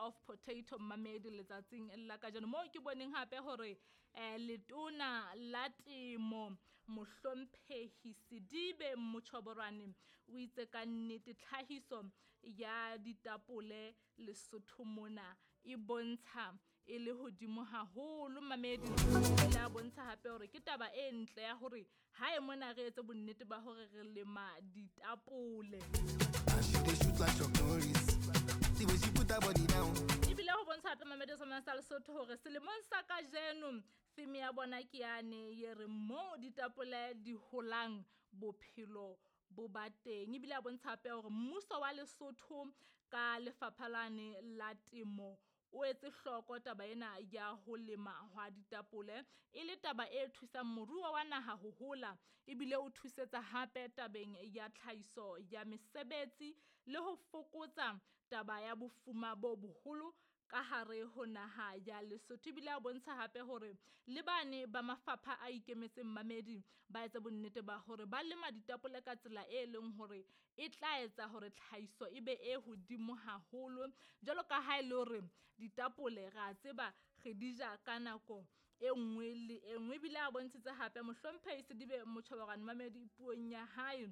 of Potato Mamedi letsatsing la kajeno, moo ke boneng hape hore letona la temo Mohlomphehi Sedibe Mochoborwane o itse ka nnete tlhahiso ya ditapole Lesotho mona e bontsha e le hodimo haholo. Mamedi o ile a bontsha hape hore ke taba e ntle ya hore hae mona re etse bonnete ba hore re lema ditapole. And she dey shoot like Chuck Norris. The way she put her body down. Ebile ho bontsha hape Mamedi sa Lesotho hore selemong sa kajeno theme ya bona ke yane ye re mo ditapole di holang bophelo bo ba teng. Ebile a bontsha hape hore mmuso wa Lesotho ka lefapha lane la temo o etse hloko taba ena ya ho lema hwa ditapole e le taba e thusang moruo wa naha ho hola, ebile o thusetsa hape tabeng ya tlhahiso ya mesebetsi le ho fokotsa taba ya bofuma bo boholo ka hare ho naha ya Lesotho. Ebile a bontsha hape hore le bane ba mafapha a ikemetseng Mamedi ba etse bonnete ba hore ba lema ditapole ka tsela e leng hore e tla etsa hore tlhahiso e be e hodimo haholo, jwalo ka ha e le hore ditapole re a tseba re di ja ka nako e nngwe le e nngwe. Ebile a bontshitse hape Mohlomphehi Sedibe Mochoborwane Mamedi puong ya hae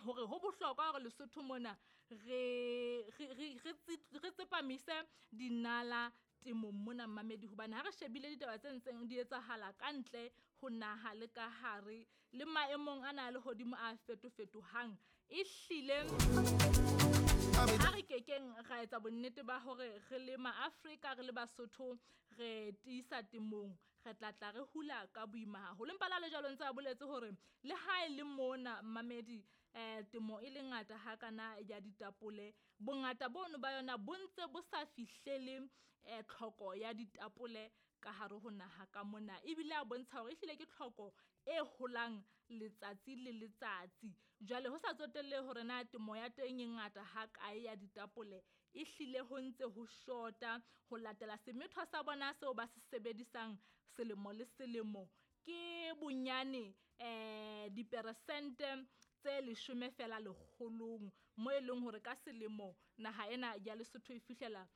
hore ho bohlokwa hore Lesotho mona re tsepamise dinala temong mona Mamedi, hobane ha re shebile ditaba tse ntseng di etsahala ka ntle ho naha le ka hare le maemong ana a lehodimo a fetofetohang, e hlile ha re kekeng ra etsa bonnete ba hore re le maAfrika re le Basotho re tiisa temong, re tla tla re hula ka boima haholo. Empa le jwalo ntse a boletse hore le ha e le mona Mamedi temo e le ngata hakana ya ditapole, bongata bono ba yona bo ntse bo sa fihlele tlhoko ya ditapole ka hare ho naha ka mona. Ebile a bontsha hore ehlile ke tlhoko e holang letsatsi le letsatsi. Jwale ho sa tsotelle hore na temo ya teng e ngata ha kae ya ditapole, e hlile ho ntse ho shota ho latela semetho sa bona seo ba se sebedisang selemo le selemo ke bonyane diperesente tse 10 fela lekgolong, mo e leng hore ka selemo naha ena ya Lesotho e fihlela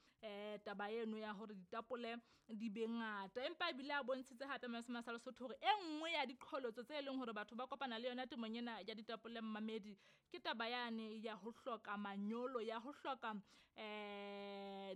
taba eno ya hore ditapole di be ngata. Empa ebile a bontshitse hape Masema sa Lesotho hore e nngwe ya diqholotso tse leng hore batho ba kopana le yona temong ena ya ditapole Mamedi ke taba yane ya ho hloka manyolo, ya ho hloka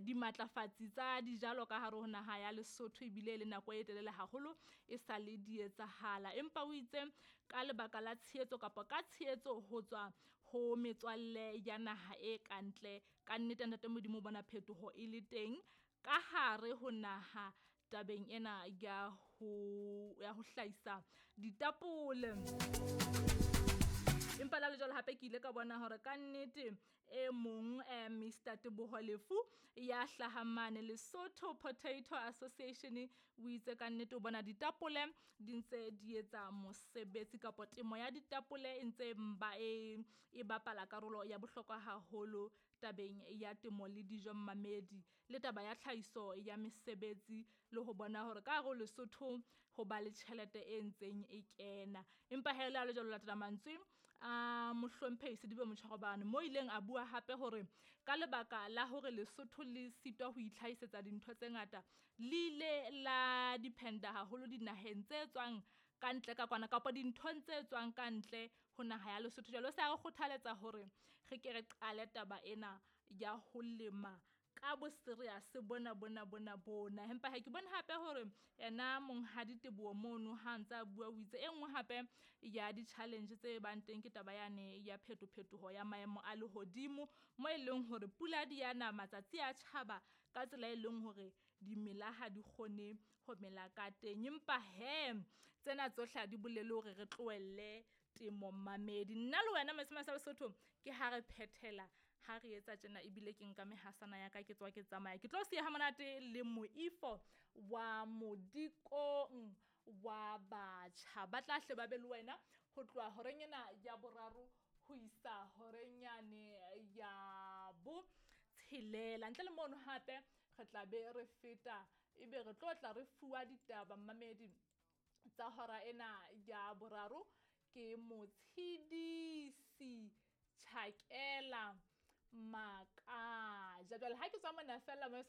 dimatlafatsi tsa dijalo ka hare ho naha ya Lesotho, ebile le nako e telele haholo e sa le di etsahala. Empa o itse ka lebaka la tshehetso kapa ka tshehetso ho tswa ho metswalle ya naha e kantle, ka nnete Ntate Modimo bona phetoho e le teng ka hare ho naha tabeng ena ya ho hlahisa ditapole. Empa la le jwalo hape ke ile ka bona hore ka nnete e mong Mr Teboho Lefu ya hlahang mane Lesotho Potato Association o itse ka nnete o bona ditapole di ntse di etsa mosebetsi kapa temo ya ditapole e ntse e bapala karolo ya bohlokwa haholo tabeng ya temo le dijo Mamedi, le taba ya tlhahiso ya mesebetsi le ho bona hore ka hare Lesotho ho ba le tjhelete e ntseng e kena. Empa he le jwalo latela mantswe a Mohlomphehi Sedibe Mochoborwane mo ileng a bua hape hore ka lebaka la hore Lesotho le sitwa ho itlhahisetsa dintho tse ngata, le ile la dependa haholo dinaheng tse tswang ka ntle ka kwana kapa dinthong tse tswang ka ntle ho naha ya Lesotho. Jwale o se a re kgothaletsa hore re ke re qale taba ena ya ho lema ka bo serious bona bona bona bona. Empa ha ke bone hape hore yena Monghadi Teboho mono ha ntse a bua o itse e nngwe hape ya di-challenge tse bang teng ke taba yane ya phetophetoho ya maemo a lehodimo, mo e leng hore pula di yana matsatsi a tjhaba ka tsela e leng hore dimela ha di kgone ho mela ka teng. Empa he tsena tsohle ha di bolele hore re tlohelle temo Mamedi. Nna le wena Masema sa Lesotho ke ha re phethela ha re etsa tjena, ebile ke nka mehasana ya ka ke tswa ke tsamaya ke tlo siya ha monate le moifo wa modikong wa batjha ba tla hle ba be le wena ho tloha horeng ena ya boraro ho isa horeng yane ya bo tshelela. Ntle le mono hape re tla be re feta ebe re tlo tla re fuwa ditaba Mamedi tsa hora ena ya boraro ke Motshidisi Chakela Makaja. Jwale ha ke tswa mona fela